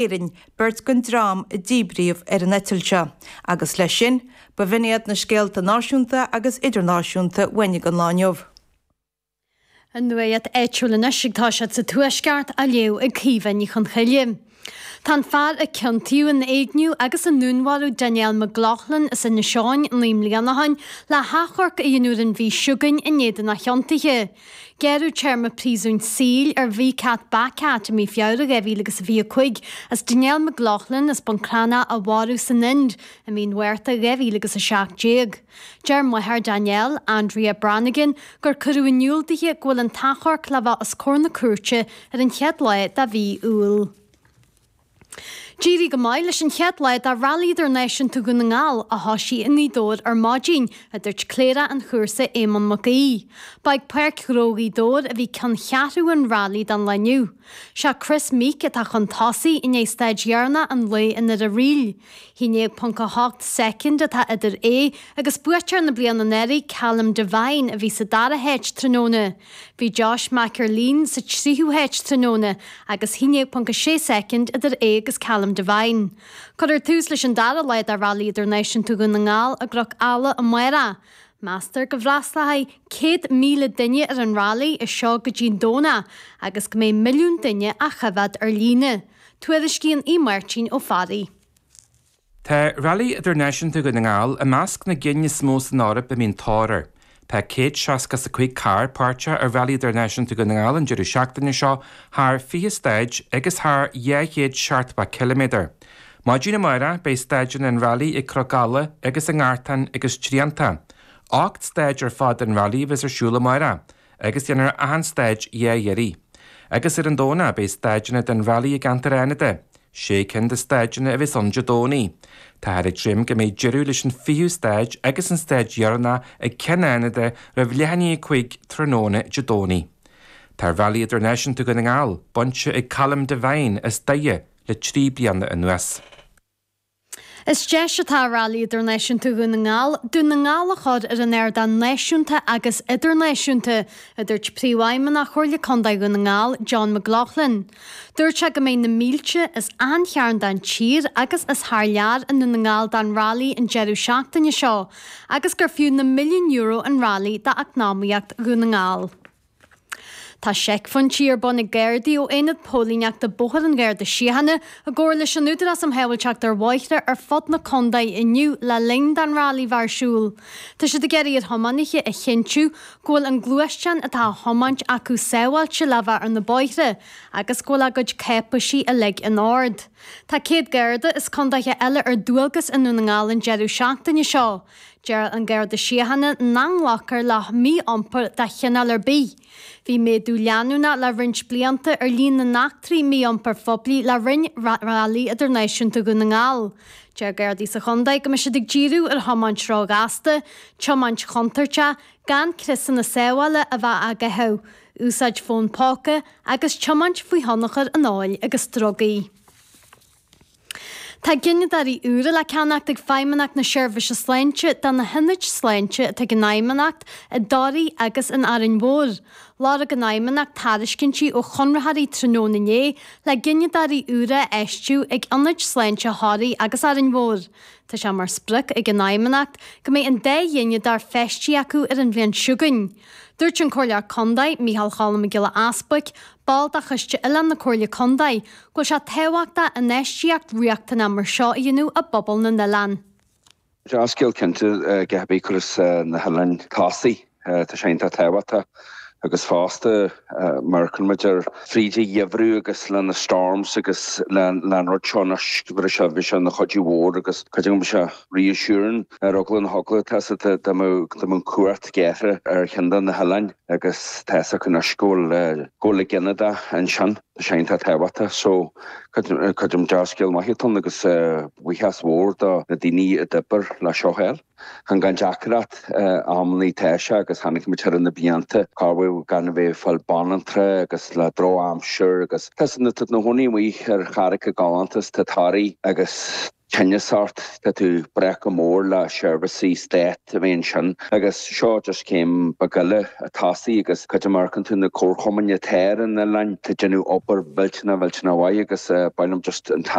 Éirinn, beirt den dream a díbríodh ar an eitilt seo, agus leis sin, ba bh'in iad na scéalta náisiúnta agus idirnáisiúnta uainn don lá inniu. An nuacht áitiúil anois ag toiseacht sa Tuaisceart á léamh ag Caoimhe Ní Chonchoille. Tá an fear a ciontaíodh in éigniú agus i ndúnmharú Danielle McLaughlin as Inis Eoghain 9 mbliana ó shin le hachomharc a dhéanamh ar an mhí seo chugainn in éadan a chiontaithe. Gearradh téarma príosúin saoil ar Vicat Bakat i mí Feabhra 2025 as Danielle McLaughlin as Bun Cranncha a mharú san Ind i mí an Mhárta 2017. Deir máthair Danielle, Andrea Brannigan, gur cuireadh in iúl dithe go bhfuil an t-achomharc le bheith os comhair na cúirte ar an chéad lá de mhí Iúil. D'éirigh go maith leis an chéad lá de Rally Idirnáisiúnta Dhún na nGall, a thosaigh i nGaoth Dobhair ar maidin, a dúirt Cléireach an chúrsa Éamonn Mac Aoidh. Ba ag Páirc Ghnó Ghaoth Dobhair a bhí ceanncheathrú an Rally don lá inniu. Sé Kris Meeke atá chun tosaigh i ndiaidh staid dheireanach an lae i nDoire Ríl. 11.8 soicind atá idir é agus buaiteoir na bliana anuraidh Callum Devine a bhí sa dara háit tráthnóna. Bhí Josh McErlean sa tríú háit tráthnóna agus 11.6 soicind idir é agus Callum Devine. Cuirfear tús leis an dara lá de Rally Idirnáisiúnta Dhún na nGall i gCnoc Alla amárach. Meastar go bhfreastalóidh 100,000 duine ar an Rally as seo go dtí an Domhnach agus go mbeidh milliún duine á choimhéad ar líne. Tuairiscíonn Aodh Máirtín Ó Fearraigh. Tá Rally Idirnáisiúnta Dhún na nGall i measc na gcinn is mó san Eoraip a mbíonn tóir air. Tá 165 carr páirteach i Rally Idirnáisiúnta Dhún na nGall an deireadh seachtaine seo thar 20 staid agus thar 270 ciliméadar. Maidin amárach beidh staideanna an Rally ag Cnoc Alla agus i nGartán agus Trianta. 8 staid ar fad den Rally a bheas ar siúl amárach agus déanfar achan staid dhá iarraidh. Agus ar an Domhnach beidh staideanna den Rally i gceantar Fhánada. Sé cinn de staideanna a bheas ann Dé Domhnaigh. Táthar ag dréim go mbeidh deireadh leis an fichiú staid agus an staid dheireanach ag Ceann Fhánada roimh leath i ndiaidh 5 tráthnóna Dé Domhnaigh. Tá Rally Idirnáisiúnta Dhún na nGall bainte ag Colm Devine as Doire le 3 bliana anuas. Is deis atá i Rally Idirnáisiúnta Dhún na nGall, Dún na nGall a chur ar an ardán náisiúnta agus idirnáisiúnta, a dúirt Príomhfheidhmeannach Chomhairle Contae Dhún na nGall, John McLaughlin. Dúirt sé go mbeidh na mílte as achan chearn den tír agus as thar lear i nDún na nGall don Rally an deireadh seachtaine seo agus gur fiú na milliúin euro an Rally d'eacnamaíocht Dhún na nGall. Tá seicphointí ar bun ag Gardaí ó Aonad Póilíneachta Bóthair an Gharda Síochána i gcomhar leis an Údarás um Shábháilteacht ar Bhóithre ar fud na contae inniu le linn don Rally bheith ar siúl. Tá siad ag iarraidh ar thiománaithe a chinntiú go bhfuil an gluaisteán atá á thiomáint acu sábháilte le bheith ar na bóithre agus go bhfuil a gcuid cáipeisí uilig in ord. Tá 100 Garda as contaetha eile ar dualgas i nDún na nGall an deireadh seachtaine seo. Deir an Garda Síochána nach nglacfar le mí-iompar de chineál ar bith. Bhí méadú leanúnach le roinnt blianta ar líon na n-eachtraí mí-iompair phoiblí le linn Rally Idirnáisiúnta Dhún na nGall. Deir Gardaí sa chontae go mbeidh siad ag díriú ar thiomáint róghasta, tiomáint chontúirteach, gan criosanna sábhála a bheith á gcaitheamh, úsáid fón póca agus tiomáint faoi thionchar an óil agus drugaí. Tá gineadóirí úra le ceannacht ag Feidhmeannacht na Seirbhíse Sláinte do na hionaid sláinte atá ag an Fheidhmeannacht i dToraigh agus in Árainn Mhór. Lorg an Fheidhmeannacht tairiscintí ó chonraitheoirí tráthnóna inné le gineadóirí úra a fheistiú ag ionaid sláinte Thoraí agus Árainn Mhór. Tá sé mar sprioc ag an Fheidhmeannacht go mbeidh an dá ghineadóir feistithe acu ar an bhliain seo chugainn. Dúirt an Comhairleoir Contae, Micheál Cholm Mac Giolla Easbuic, ball de Choiste Oileán na Comhairle Contae, go bhfuil sé tábhachtach infheistíocht riachtanach mar seo a dhéanamh i bpobal na n-oileán. Dea-scéal cinnte go cibé cuireas na hoileáin tosaigh. Tá sé iontach tábhachtach agus fosta mar a chonaic muid ar fríd an gheimhreadh agus le na storms agus le an rud seo anois go bhfuil sé bhí sé ina chuidiú mhór agus cuid agam sé reassuring ar eagla na heagla tá 's agat dá mbeadh an cumhacht gearrtha ar cheann de na hoileáin agus tá 's acu anois go bhfuil go bhfuil an gineadóir ansin. Tá sé iontach tábhachtach so creidim dea-scéal maith atá ann agus buíochas mhór do na daoine a d'oibir le seo a fháil. Chan gan deacracht amannaí tá sé agus chonaic muid thar na blianta cá bhfuil gan a bheith ag fáil banaltra agus le drochaimsir agus tá na cónaí amuigh ar charraigeacha galánta is tá Toraigh agus. tinneas ort, tá tú breac go mór le seirbhísí stáit a bheith ansin agus seo just céim beag eile ag tosaí agus cad é mar a amharcann tú na comharchumainn atá ar an oileán, tá déanamh obair mhillteanach mhillteanach mhaith agus ba mhaith liom just an.